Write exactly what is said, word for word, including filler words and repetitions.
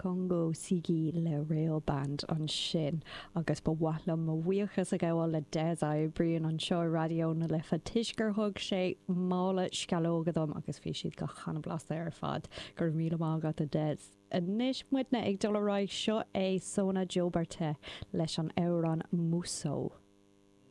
Congo Sigi le Rail Band ansin agus ba mhaith liom mo bhuíochas a ghabháil le Des a oibríonn anseo Raidió na Life toisc gur thug sé mála sceallóga dom agus bhí siad go han-bhlasta ar fad go raibh míle maith agat a Des. Anois muidne ag dul ar aghaidh seo é Sona Jobarteh leis an amhrán Muso.